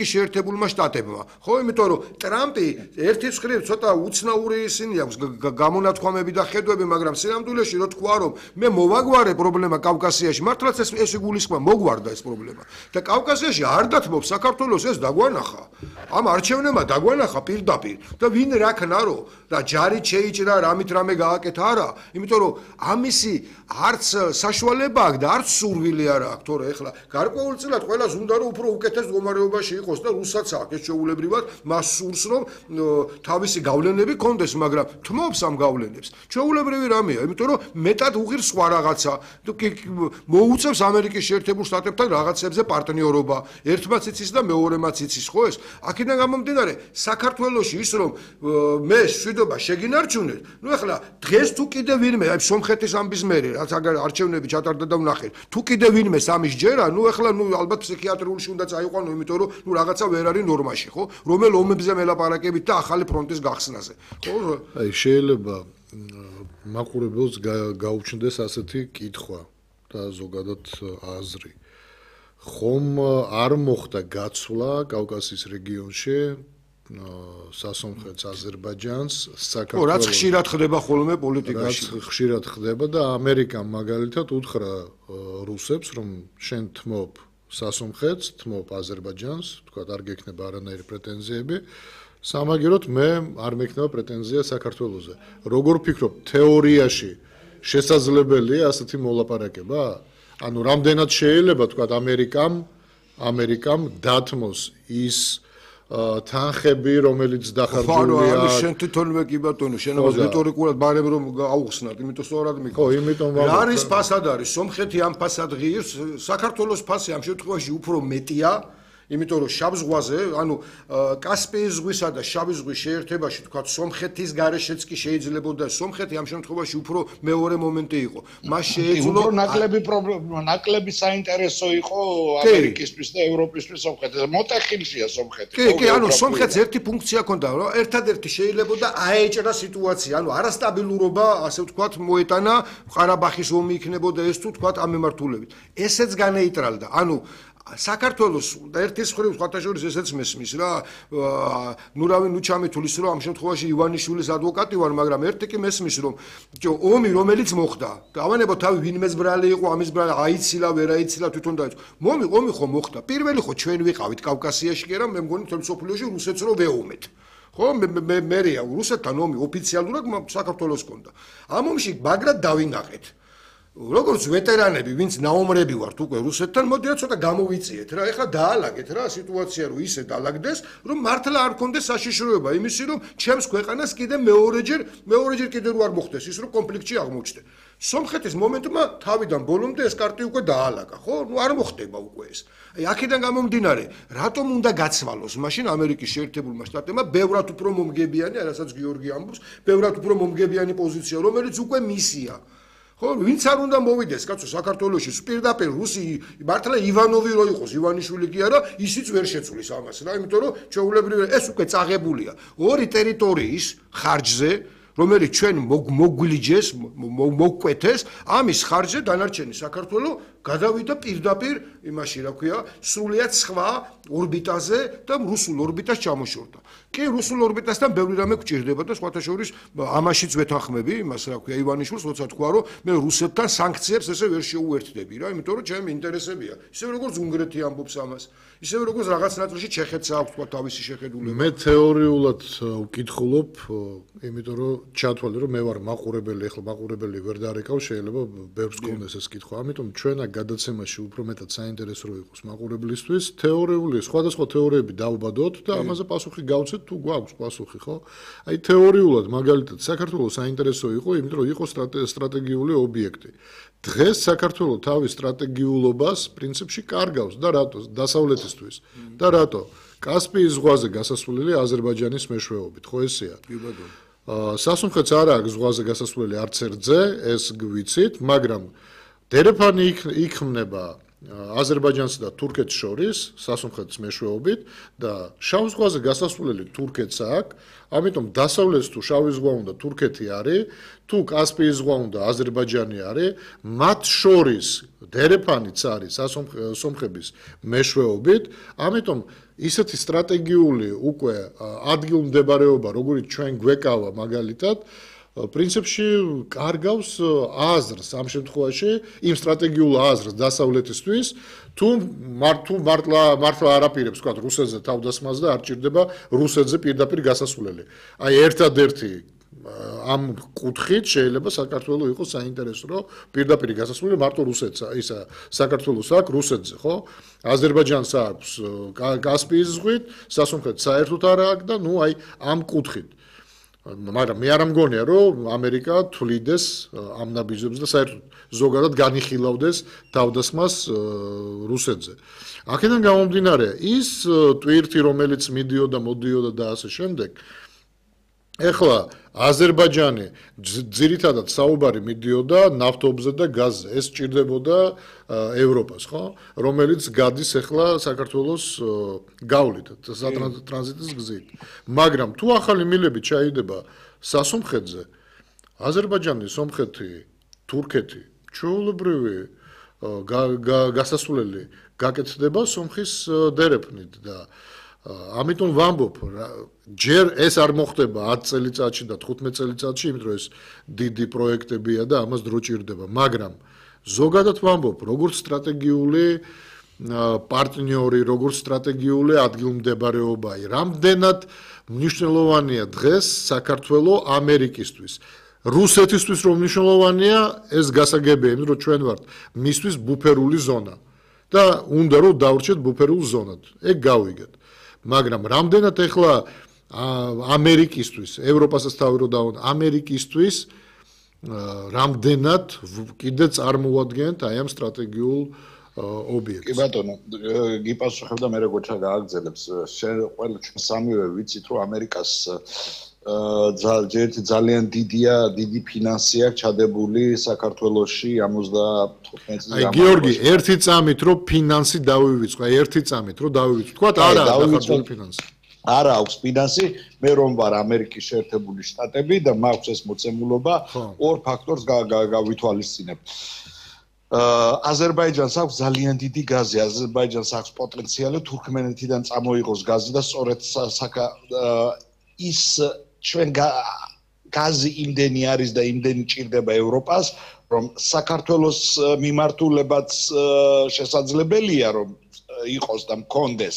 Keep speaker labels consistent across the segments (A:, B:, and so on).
A: შეერთებულმა შტატებმა. ხო, იმიტომ რომ ტრამპი ერთის მხრივ ცოტა უცნაური ისინი აქვს გამონათქვამები და ხედვები, მაგრამ სინამდვილეში რო თქვა რომ მე მოვაგვარე პრობლემა კავკასიაში, მართლაც ეს იგულისხმა მოგვარდა ეს პრობლემა. და კავკასიაში არ დათმობს საქართველოს ეს დაგვანახა. ამ არჩევნებმა დაგვანახა პირდაპირ და ვინ რა ქნარო და ჯარით შეიჭრა რამით რამე გააკეთა არა, იმიტომ რომ ამისი არც საშუალება აქვს და არც სურვილი არ აქვს, თორე ეხლა გარკვეულწილად ყველას უნდა რომ უფრო უკეთეს მდგომარეობაში იყოს და რუსაც აქვს ეს შეუულებრივად მას სურს რომ თავისი გავლენები კონდეს, მაგრამ თმობს ამ გავლენებს. შეუულებრივი რამეა, იმიტომ რომ მეტად უღირს სხვა რაღაცა. მოუწევს ამერიკის შეერთებულ შტატებთან რაღაცებზე პარტნიორობა. ერთმაც იცის და მეორემაც იცის, ხო ეს? აქედან გამომდინარე, საქართველოში ის რომ მე შვიდობა შეგინარჩუნეთ, ნუ ეხლა დღეს თუ კიდე ვინმე, აი სომხეთის ამბის მერე, რაც აგარ არჩევნები ჩატარდა და ვნახეთ, თუ კიდე ვინმე სამის ჯერა, ნუ ეხლა ნუ ალბათ ფსიქიატრიულში უნდა წაიყვანო, იმიტომ რომ ნუ რაღაცა ვერ არის ნორმაში, ხო? რომელ ომებზე მელაპარაკებით და ახალი ფრონტის გახსნაზე, ხო?
B: აი შეიძლება მაყურებელს გაუჩნდეს ასეთი კითხვა და ზოგადად აზრი. ხომ არ მოხდა გაცვლა კავკასიის რეგიონში სასომხეთს, აზერბაიჯანს, საქართველოს.
A: რაც ხშირად ხდება ხოლმე პოლიტიკაში.
B: რაც ხშირად ხდება და ამერიკამ მაგალითად უთხრა რუსებს, რომ შენ თმობ სასომხეთს, თმობ აზერბაიჯანს, თქვა არ გექნება არანაირი პრეტენზიები. სამაგეროდ მე არ მექნება პრეტენზია საქართველოზე. როგორ ფიქრობ, თეორიაში შესაძლებელია ასეთი მოლაპარაკება? ანუ რამდენად შეიძლება თქვა ამერიკამ დათმოს ის თანხები, რომელიც დახარჯულია.
A: ანუ შენ თვითონვე კი ბატონო, შენობას რიტორიკულად ბარემ რომ აუხსნათ, იმიტომ სწორად მიკითხავ.
B: ხო, იმიტომ
A: რა არის ფასად არის? სომხეთი ამ ფასად ღირს, საქართველოს ფასი ამ შემთხვევაში უფრო მეტია. იმიტომ რომ შავ ზღვაზე, ანუ კასპიის ზღვისა და შავი ზღვის შეერთებაში, თქვა სომხეთის გარეშეც კი შეიძლებოდა სომხეთი ამ შემთხვევაში უფრო მეორე მომენტი იყო. მას შეეძლო
C: ნაკლები საინტერესო იყო ამერიკისთვის და ევროპისთვის სომხეთის. მოტეხილშია სომხეთი.
A: კი, ანუ სომხეთს ერთი ფუნქცია ჰქონდა, რომ ერთადერთი შეიძლებოდა აეჭრა სიტუაცია, ანუ არასტაბილურობა, ასე ვთქვათ, მოეტანა, ყარაბახის ომი იქნებოდა ეს თუ ვთქვათ ამ მიმართულებით. ესეც განეიტრალდა. ანუ საქართველოს ერთის მხრივ სხვათაშორის ესეც მესმის რა, ნუ ჩამეთulis რომ ამ შემთხვევაში ივანიშვილის ადვოკატი ვარ, მაგრამ ერთი კი მესმის რომ ომი რომელიც მოხდა, დავანებო თავი ვინმეს ბრალი იყო, ამის ბრალი აიცილა, ვერ აიცილა, თვითონ დაიწყო. ომი ხო მოხდა. პირველი ხო ჩვენ ვიყავით კავკასიაში კი რა, მე მგონი თელ სოფლიოში რუსეთს რო ვეომეთ. ხო, მერეა რუსეთთან ომი ოფიციალურად საქართველოს ჰქონდა. ამ ომში მაგრად დავინახეთ. როგორც ვეტერანები, ვინც ნაომრები ვართ უკვე რუსეთთან, მოდიათ ცოტა გამოვიწიეთ რა. ეხლა დაალაგეთ რა სიტუაცია, რომ ისე დაალაგდეს, რომ მართლა არ კონდეს საშიშროება იმისი, რომ ჩემს ქვეყანას კიდე მეორეჯერ კიდე რო არ მოხდეს ის, რომ კონფლიქტში აღმოჩნდე. სომხეთის მომენტმა თავიდან ბოლომდე ეს კარტი უკვე დაალაგა, ხო? ნუ არ მოხდება უკვე ეს. აი აქედან გამომდინარე, რატომ უნდა გაცვალოს მაშინ ამერიკის შეერთებულმა შტატებმა ბევრად უფრო მომგებიანი, რასაც გიორგი ამბობს, ბევრად უფრო მომგებიანი პოზიცია, რომელიც უკვე მისია. ხო, ვინც არ უნდა მოვიდეს, კაცო, საქართველოში პირდაპირ რუსი, მართლა ივანოვი რო იყოს, ივანიშვილი კი არა, ისიც ვერ შეცვლის ამას რა, იმიტომ რომ ჩვეულებრივი ეს უკვე წაღებულია ორი ტერიტორიის ხარჯზე, რომელიც ჩვენ მოგვილიჯეს, მოგკვეთეს, ამის ხარჯზე დანარჩენი საქართველო გადავიდა პირდაპირ იმაში, რა ქვია, სრულიად სხვა ორბიტაზე და რუსულ ორბიტას ჩამოშორდა. კი, რუსულ ორბიტასთან ბევრი რამე გვჭირდება და სხვათა შორის ამაშიც ვეთანხმები, იმას რა ქვია, ივანიშვილს, როცა თქვა, რომ მე რუსეთთან სანქციებს ესე ვერ შეუერთდები რა, იმიტომ რომ ჩემი ინტერესებია. ისე როგორც უნგრეთი ამბობს ამას, ისე როგორც რაღაც ნაწილში ჩეხეთს აქვს თქვა თავისი შეხედულება.
B: მე თეორიულად ვკითხულობ, იმიტომ რომ ჩათვალე რომ მე ვარ მაყურებელი, ახლა მაყურებელი ვერ დარეკავ, შეიძლება ბევრს გქონდეს ეს კითხვა. ამიტომ ჩვენ გადაცემაში უფრო მეტად საინტერესო რო იყოს მაყურებლისთვის, თეორიული, სხვადასხვა თეორიები დავბადოთ და ამაზე პასუხი გავცეთ თუ გვაქვს პასუხი, ხო? აი თეორიულად მაგალითად საქართველოს საინტერესო იყო, იმიტომ რომ იყო სტრატეგიული ობიექტი. დღეს საქართველოს თავის სტრატეგიულობას პრინციპში კარგავს და რატო? დასავლეთისთვის. და რატო? კასპიის ზღვაზე გასასვლელი აზერბაიჯანის მეშვეობით, ხო ესეა?
A: კი ბატონო.
B: სასუნხეთს არ აქვს ზღვაზე გასასვლელი არც ერთზე, ეს გვიცით, მაგრამ დერეფანი იქმნება აზერბაიჯანსა და თურქეთს შორის სასუნხეთის მეშვეობით და შავ ზღვაზე გასასვლელი თურქეთს აქვს, ამიტომ დასავლეთს თუ შავი ზღვა უნდა თურქეთი არის, თუ კასპიის ზღვა უნდა აზერბაიჯანი არის, მათ შორის დერეფანიც არის სომხების მეშვეობით, ამიტომ ისეთი სტრატეგიული უკვე ადგილმდებარეობა, როგორიც ჩვენ გვეკავა მაგალითად, პრინციპში კარგავს აზრს ამ შემთხვევაში, იმ სტრატეგიულ აზრს დასავლეთისთვის, თუ მართლა არაპირებს, თქვა რუსეთზე თავდასხმას და არ ჭირდება რუსეთზე პირდაპირ გასასვლელი. აი ერთადერთი ამ კუთხით შეიძლება საქართველოს იყოს საინტერესო, რომ პირდაპირ გასასვლელი მარტო რუსეთს, ისა საქართველოს აქვს რუსეთზე, ხო? აზერბაიჯანს აქვს კასპიის ზღვით, სასუნხეთს საერთოდ არ აქვს და ნუ აი ამ კუთხით. მაგრამ მე არ მგონია, რომ ამერიკა თვლიდეს ამ ნაბიჯებს და საერთოდ ზოგადად განიხილავდეს თავდასხმას რუსეთზე. აქედან გამომდინარე, ის ტვირთი, რომელიც მიდიოდა, მოდიოდა და ასე შემდეგ, ეხლა აზერბაიჯანი ძირითადად საუბარი მიდიოდა ნავთობზე და გაზზე. ეს ჭირდებოდა ევროპას, ხო? რომელიც გადის ეხლა საქართველოს გავლით, ტრანზიტის გზით. მაგრამ თუ ახალი მილები ჩაიდება სასომხეთზე, აზერბაიჯანი, სომხეთი, თურქეთი, ჩვეულებრივი გასასვლელი გაკეთდება სომხის დერეფნით და ამიტომ ვამბობ, ჯერ ეს არ მოხდება 10 წელიწადში და 15 წელიწადში, იმიტომ რომ ეს დიდი პროექტებია და ამას დრო ჭირდება, მაგრამ ზოგადად ვამბობ, როგორც სტრატეგიული პარტნიორი, როგორც სტრატეგიული ადგილმდებარეობა, რამდენად მნიშვნელოვანია დღეს საქართველოს ამერიკისთვის. რუსეთისთვის რომ მნიშვნელოვანია, ეს გასაგებია, იმიტომ რომ ჩვენ ვართ მისთვის ბუფერული ზონა და უნდა რომ დავრჩეთ ბუფერულ ზონად. ეგ გავიგეთ. მაგრამ რამდენად ეხლა ამერიკისთვის, ევროპასაც თავი რო დავუნა, ამერიკისთვის რამდენად კიდე წარმოადგენთ აი ამ სტრატეგიულ ობიექტს.
C: კი ბატონო, გიპასუხებ და მე როგორ გააგრძელებს. შენ ყველა ჩვენ სამივე ვიცით, რომ ამერიკას ძალიან დიდი ფინანსი აქვს ჩადებული საქართველოში 75 წლის
B: აი გიორგი, ერთი წამით რომ ფინანსი დავივიწყო, აი ერთი წამით რომ დავივიწყო. თქვა არა აქვს ფინანსი.
C: არა აქვს ფინანსი, მე რომ ვარ ამერიკის შეერთებული შტატები და მაქვს ეს მოცემულობა, ორ ფაქტორს გავითვალისწინებ. აზერბაიჯანს აქვს ძალიან დიდი გაზი, აზერბაიჯანს აქვს პოტენციალი თურქმენეთიდან წამოიღოს გაზი და სწორედ ის ჩვენ გაზი იმდენი არის და იმდენი ჭირდება ევროპას, რომ საქართველოს მიმართულებაც შესაძლებელია რომ იყოს და მქონდეს.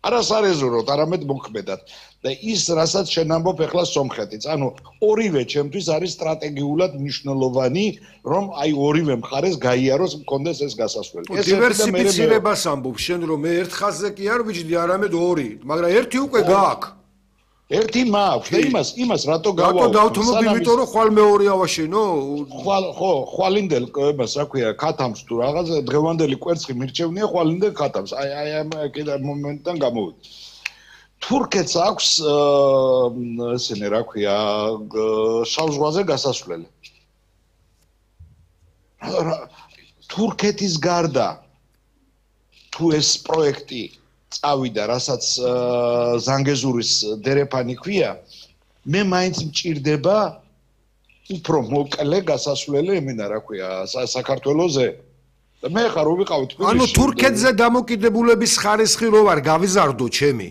C: არასარეზერვოდ, არამედ მოქმედად. და ის, რასაც შენ ამბობ ეხლა სომხეთიც, ანუ ორივე ჩემთვის არის სტრატეგიულად მნიშვნელოვანი, რომ აი ორივე მხარეს გაიაროს მქონდეს ეს გასასვლელი.
A: დივერსიფიცირებას ამბობ შენ, რომ მე ერთ ხაზზე კი არ ვიჯდი, არამედ ორი, მაგრამ ერთი უკვე გააქვს.
C: ერთი მაქვს და იმას რატო გავა?
A: რატო დავთმობ, იმიტომ რომ ხვალ მეორე ავაშენო?
C: ხვალინდელ იმას რა ქვია, ქათამს თუ რაღაც დღევანდელი კვერცხი მირჩევნია ხვალინდელ ქათამს. აი ამ კიდე მომენტიდან გამოვიდა. თურქეთს აქვს ესენი რა ქვია, შავ ზღვაზე გასასვლელი. თურქეთის გარდა თუ ეს პროექტი წავიდა, რასაც ზანგეზურის დერეფანი ქვია, მე მაინც მჭირდება უფრო მოკლე გასასვლელი ემინა რა ქვია, საქართველოზე. და მე ხარ რო ვიყავი თბილისში.
A: ანუ თურქეთზე დამოკიდებულების ხარისხი რო ვარ გავიზარდო ჩემი.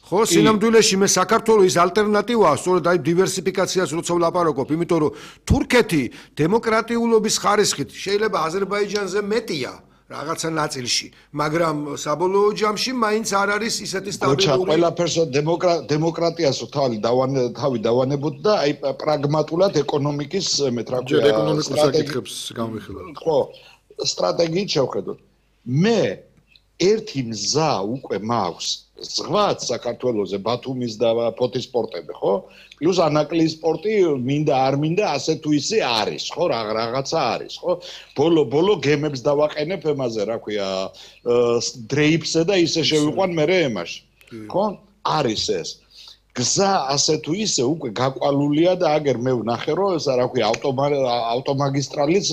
A: ხო, სინამდვილეში მე საქართველოს ის ალტერნატივაა, სწორედ აი დივერსიფიკაციას როცა ვლაპარაკობ, იმიტომ რომ თურქეთი დემოკრატიულობის ხარისხით შეიძლება აზერბაიჯანზე მეტია. რაღაცა ნაწილში, მაგრამ საბოლოო ჯამში მაინც არ არის ისეთი სტაბილური.
C: ყველაფერს დემოკრატიას თავი დავანებოთ და აი პრაგმატულად ეკონომიკის მეც რა ქვია,
B: ეკონომიკურ საკითხებს განვიხილავთ.
C: ხო, სტრატეგიით შევხედოთ. მე ერთი მზა უკვე მაქვს ზღვაც საქართველოზე, ბათუმის და ფოთის პორტები, ხო? პლუს ანაკლიის პორტი მინდა არ მინდა ასე თუ ისე არის, ხო? რაღაცა არის, ხო? ბოლო გემებს დავაყენებ ემაზე, რა ქვია, დრეიფსზე და ისე შევიყვან მერე ემაში. ხო? არის ეს. გზა ასე თუ ისე უკვე გაკვალულია და აგერ მე ვნახე რომ ესა რა ქვია ავტომაგისტრალის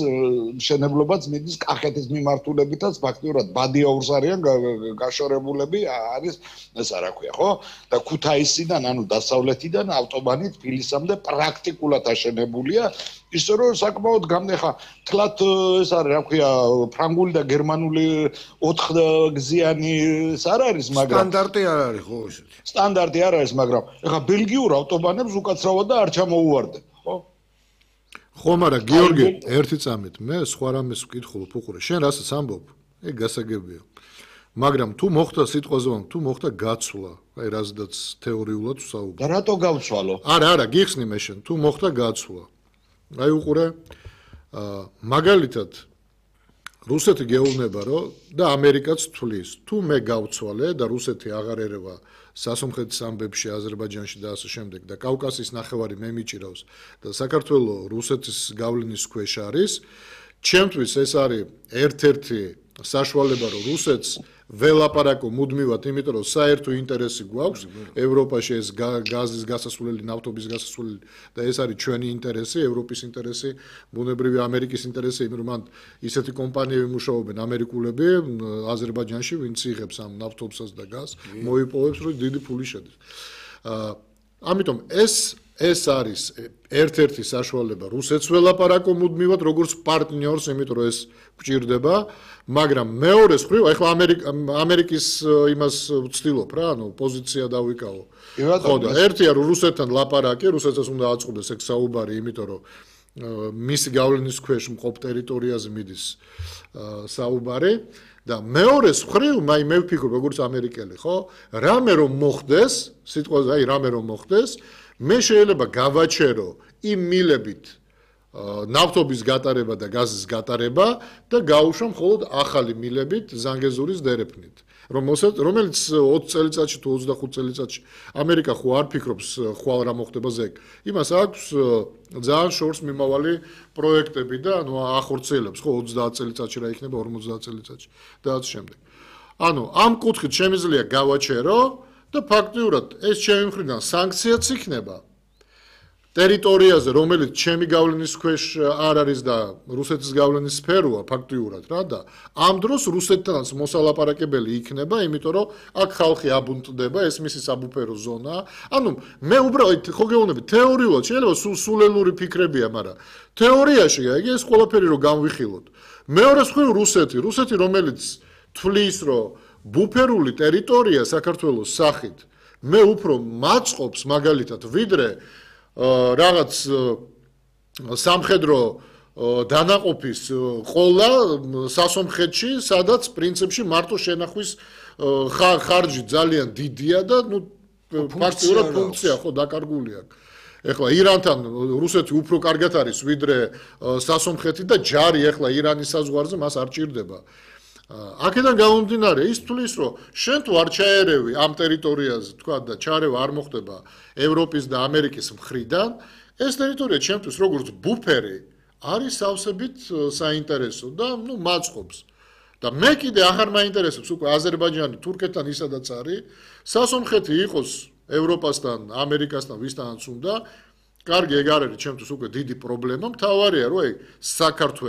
C: მშენებლობაც მიდის კახეთის მიმართულებითაც ფაქტიურად ბადიაურს არიან გაშორებულები არის ესა რა ქვია ხო და ქუთაისიდან ანუ დასავლეთიდან ავტობანი თბილისამდე პრაქტიკულად აშენებულია ისე რომ საკმაოდ გამნეხა თლათ ეს არის რა ქვია ფრანგული და გერმანული 4 გზიანი ეს არ არის მაგრამ
A: სტანდარტი არ არის ხო ესეთი
C: სტანდარტი არ არის მაგრამ ეხა ბელგიურ ავტობანებს უკაცრავად და არ ჩამოუვარდებ ხო
B: ხო მაგრამ გიორგი ერთი წამით მე სხვა რამეს ვკითხულობ უყურე შენ რასაც ამბობ ეგ გასაგებია მაგრამ თუ მოხდა სიტყვაზე თუ მოხდა გაცვლა აი რაზედაც თეორიულად ვსაუბრობ
C: და რატო გავცვალო
B: არა გიხსნი მე შენ თუ მოხდა გაცვლა აი უყურე მაგალითად რუსეთი გეუბნება რომ და ამერიკაც თვლის თუ მე გავცვალე და რუსეთი აღარ ერევა სასომხეთის ამბებში აზერბაიჯანში და ასე შემდეგ და კავკასიის ნახევარი მე მიჭირავს და საქართველოს რუსეთის გავლენის ქვეშ არის ჩემთვის ეს არის ერთ-ერთი საშუალება რომ რუსეთს ველაპარაკო მუდმივად იმიტომ რომ საერთო ინტერესი გვაქვს ევროპაში ეს გაზის გასასვლელი ნავთობის გასასვლელი და ეს არის ჩვენი ინტერესი ევროპის ინტერესი ბუნებრივი ამერიკის ინტერესი იმიტომ რომ მან ისეთი კომპანიები მუშაობენ ამერიკულები აზერბაიჯანში ვინც იღებს ამ ნავთობსას და გაზს მოიპოვებს რომ დიდი ფული შედის ამიტომ ეს არის ერთ-ერთი საშუალება რუსეთს ველაპარაკო მუდმივად როგორც პარტნიორს იმიტომ რომ ეს გვჭირდება მაგრამ მეორე მხრივ ახლა ამერიკის იმას ვცდილობ რა ანუ პოზიცია დავიკავო ხო და ერთია რომ რუსეთთან ლაპარაკი რუსეთსაც უნდა აწყდეს ეგ საუბარი იმიტომ რომ მისი გავლენის ქვეშ მყოფ ტერიტორიაზე მიდის საუბარი და მეორე მხრივ მე ვფიქრობ როგორც ამერიკელი ხო რამე რომ მოხდეს სიტყვაზე აი რამე რომ მოხდეს მე შეიძლება გავაჩერო იმ მილებით ნავთობის გატარება და გაზის გატარება და გავუშვა მხოლოდ ახალი მილებით ზანგეზურის დერეფნით რომელიც 20 წელიწადში თუ 25 წელიწადში ამერიკა ხო არ ფიქრობს ხვალ რა მოხდება ზეგ იმას აქვს ძალიან შორს მიმავალი პროექტები და ანუ ახორციელებს ხო 30 წელიწადში რა იქნება 50 წელიწადში და ასე შემდეგ ანუ ამ კუთხით შემიძლია გავაჩერო და ფაქტიურად ეს ჩემი მხრიდან სანქციაც იქნება ტერიტორიაზე რომელიც ჩემი გავლენის ქვეშ არ არის და რუსეთის გავლენის სფეროა ფაქტიურად რა და ამ დროს რუსეთთანაც მოსალაპარაკებელი იქნება იმიტომ რომ აქ ხალხი აბუნტდება ეს მისი საბუფერო ზონაა ანუ მე უბრალოდ ხო გეუბნები თეორიულად შეიძლება სულელური ფიქრებია მაგრამ თეორიაში აი ეს ყველაფერი რომ განვიხილოთ მეორე მხრივ რუსეთი რომელიც თვლის რომ ბუფერული ტერიტორია საქართველოს სახით მე უფრო მაწყობს მაგალითად ვიდრე რაღაც სამხედრო დანაყოფის ყოლა სასომხეთში სადაც პრინციპში მარტო შენახვის ხარჯი ძალიან დიდია და ნუ ფაქტიურად ფუნქცია ხო დაკარგული აქვს ეხლა ირანთან რუსეთი უფრო კარგად არის ვიდრე სასომხეთი და ჯარი ეხლა ირანის საზღვარზე მას არ ჭირდება აქედან გამომდინარე ის თulis რომ შენ თუ არ ჩაერევი ამ ტერიტორიაზე თქვა და ჩარევა არ მოხდება ევროპის და ამერიკის მხრიდან ეს ტერიტორია ჩემთვის როგორც ბუფერი არის სავსებით საინტერესო და ნუ მაწყობს და მე კიდე აღარ მაინტერესებს უკვე აზერბაიჯანი თურქეთთან ისედაც არის სასომხეთი იყოს ევროპასთან ამერიკასთან ვისთანაც უნდა კარგი ეგ არ არის ჩემთვის უკვე დიდი პრობლემა მთავარია რომ აი საქართველოს